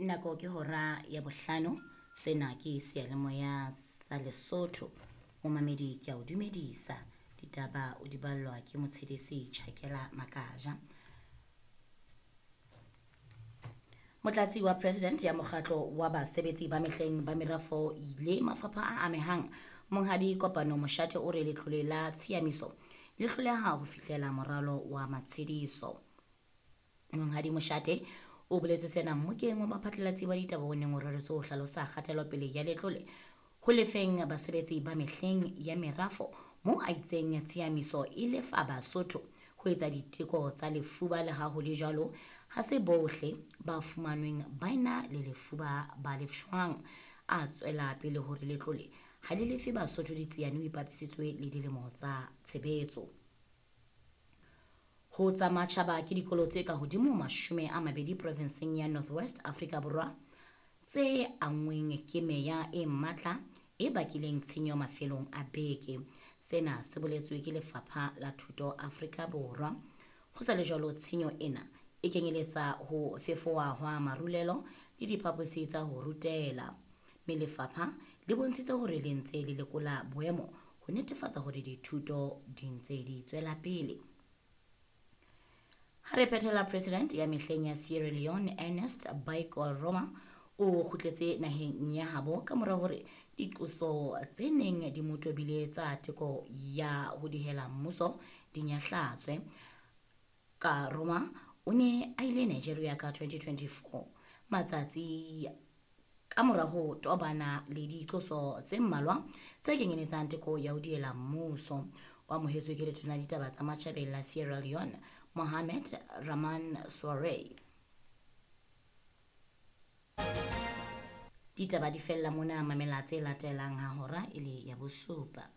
Nako ke hora ya bohlano. Sena ke seyalemoya sa Lesotho. Momamedi ke a o dumedisa. Ditaba o di ballwa ke Motshedisi Chakela Makaja. Motlatsi wa President ya mokgatlo wa basebetsi ba mehleng ba merafo le mafapha a amehang Monghadi Kopano Moshate o re letlole la tshiamiso le hloleha ho fihlela moralo wa matshediso. Monghadi Moshate o boletse sena mmokeng wa baphatlalatsi ba ditaba o neng o reretswe ho hlalosa kgatelopele ya letlole ho lefeng basebetsi ba mehleng ya merafo moo a itseng tshiamiso e lefa Basotho ho etsa diteko tsa lefuba le ha ho le jwalo ha se bohle ba fumanweng ba ena le lefuba ba lefshwang. A tswela pele hore letlole ha le lefe Basotho ditsiane ho ipapisitswe le dilemo tsa tshebetso. Ho tsa matjhaba ke dikolo tse ka hodimo 20 provinseng ya North West Afrika Borwa tse anngweng ke meya e matla e bakileng tshenyo mafelong a beke. Sena se boletswe ke Lefapha la Thuto Afrika Borwa. Ho sa le jwalo tshenyo ena e kenyeletsa ho fefowa hwa marulelo le diphaposi tsa ho rutela. Mme lefapha le bontshitse hore le ntse le lekola boemo ho netefatsa hore dithuto di ntse di tswela pele. Ha re phethela President ya mehleng ya Sierra Leone Ernest Bai Koroma o kgutletse naheng ya habo ka mora hore diqoso tse neng di mo tobile tsa teko ya ho dihela mmuso di nyahlatswe. Koroma o ne a ile Nigeria ka 2024 matsatsi ka mora ho tobana le diqoso tse mmalwa tse kenyeletsang teko ya ho diela mmuso. O amohetswe ke letona ditaba tsa matjhabeng la Sierra Leone Mohamed Rahman Soare. Ditaba di fella mona, mamela tse latelang ha hora e le ya bosupa.